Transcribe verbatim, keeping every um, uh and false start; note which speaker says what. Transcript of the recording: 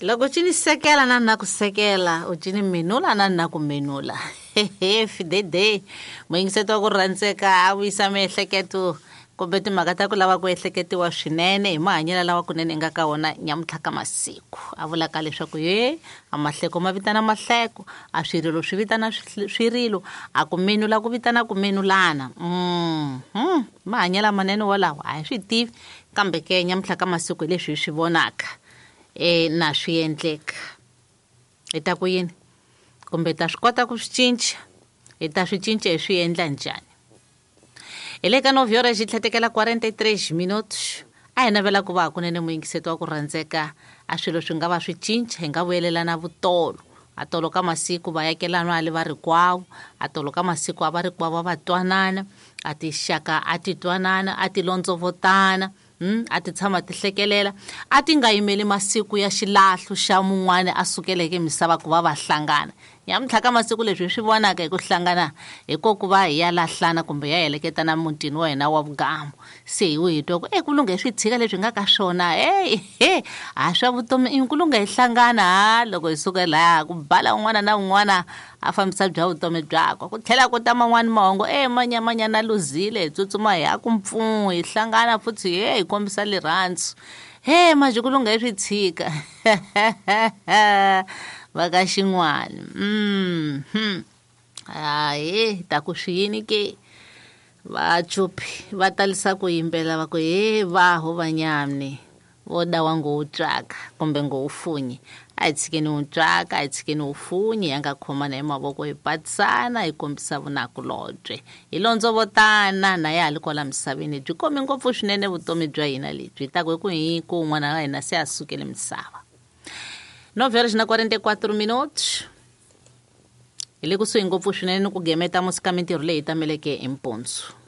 Speaker 1: Loko cini sekela na na ku sekela, u cini menula na na ku menula. Fidede muyingiseto wa ku rhandzeka a vuyisa miehleketo kumbe timhaka ta ku lava ku ehleketiwa swinene hi mahanyelo lawa kunene nga ka wona nyamuntlha ka masiku. A vulaka leswaku ye a mahleko ma vitana mahleko, a swirilo swi vitana swirilo, a ku menula ku vitana ku menulana. Mm, mahanyelo manene wolawo a hi swi tivi, kambe ke nyamuntlha ka masiku hi leswi hi swi vonaka e na swi endleka. Hi ta ku yini? Kumbe ta swi kota ku swi cinca? Hi ta swi cinca hi swi endla njhani? Hi le ka nove horas tlhetekela quarenta e três minutos. A hi navela ku va hakunene muyingiseto wa ku rhandzeka a swilo swi nga va swi cinca, hi nga vuyelelana vutolo. A tolo ka masiku vayakelana a le va rikwavo, a tolo ka masiku a va rikwavo va twanana, a tixaka a ti twanana, a ti londzovotana, Mm, a ti tshama ti hlekelela, a ti nga yimeli masiku ya xilahlo xa mun'wani a sukeleke misava ku va va hlangana. Nyamuntlha ka masiku leswi hi swi vonaka hi ku hlangana hi ko ku va hi ya lahlana kumbe ya heleketana mutini wa hina wa vugamu. Se hi hi twa ku e ku lungha hi swi tshika leswi nga ka swona, hey, he a swa vutomi i ku lungha hi hlangana. Ha loko hi suka laha ku bala un'wana na un'wana a fambisa bya vutomi byakwe, ku tlhela ku ta man'wani mahungu e manyamanyana luzile, hi tsutsuma hi ya ku mpfuno, hi hlangana futhi he hi kombisa rirhandzu. He manje ku lungha hi swi tshika va ka xin'wana. Mhm hayi ta ku swi yini ke vachupi va talisa ku yimbela va ku he vaho vanyamni vo dawa ngo wu tswaka kumbe ngo wu funyi. A hi tshikeni wu tswaka, a hi tshikeni wu funyi, hi nga khomana hi mavoko, hi patisana, hi kombisa vunakulobye, hi londzovotana na ya ha li kwala misaveni. Byi komi ngopfu swinene vutomi bya hina lebyi, hi ta ku hi ku hi ku un'wana wa hina se a sukele misava. Nove horas na quarenta e quatro minutos. Hi le kusuhi ngopfu swinene ni ku gemeta musika mintirho leyi tameleke hi mpunzu.